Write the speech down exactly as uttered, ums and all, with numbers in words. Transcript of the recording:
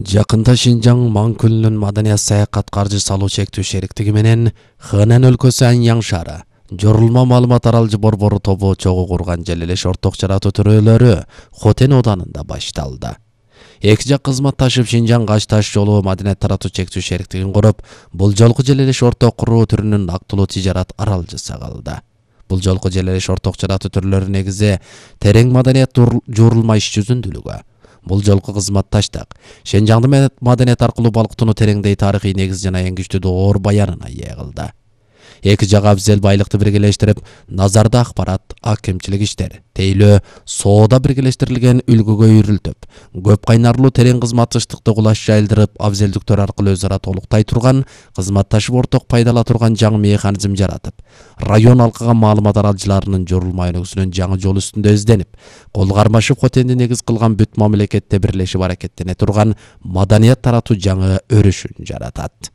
Жакында Шинжаң Маңкүлүнүн маданият саякат каржы салуу чектүү шериктиги менен Хэнан өлкөсү Аньяң шаары Жорулма маалымат аралжы борбору тобу чогуу курган желелеш орток жаратуу төрөлөрү Хотен оданында башталды. Эки жак кызматташып Шинжаң Каш таш жолу маданият таратуу чектүү шериктигин куруп, бул жолку желелеш орток куруу түрүнүн актылуу тижарат аралжысы кылды. Бул жолку желелеш орток жаратуу түрлөрү негизи терең маданият жуурулма иш жүзүндүүлүгү. Бул жолку кызматташтык Шинжаңды маданият аркылуу балкытууну тереңдей тарыхый негиз жана эң күчтүү доор баянына ээ кылды. Эки жак абзел байлыкты биргелештирип, назарда акпарат, акимчилик иштер, тейлөө, соода биргелештирилген үлгүгө үйрүлтүп, көп кайнарлуу терең кызматташтыкты кулаш жайылдырып, абзелдиктер аркылуу өз ара толуктай турган, кызматташып орток пайдала турган жаңы механизм жаратып, район алкага маалымат аралжыларынын жорулма өнүгүүсүнүн жаңы жол үстүндө изденип, кол кармашып Хотенди негиз кылган бүт мамлекетте бирлешип аракеттене турган маданият таратуу жаңы өрүшүн жаратат.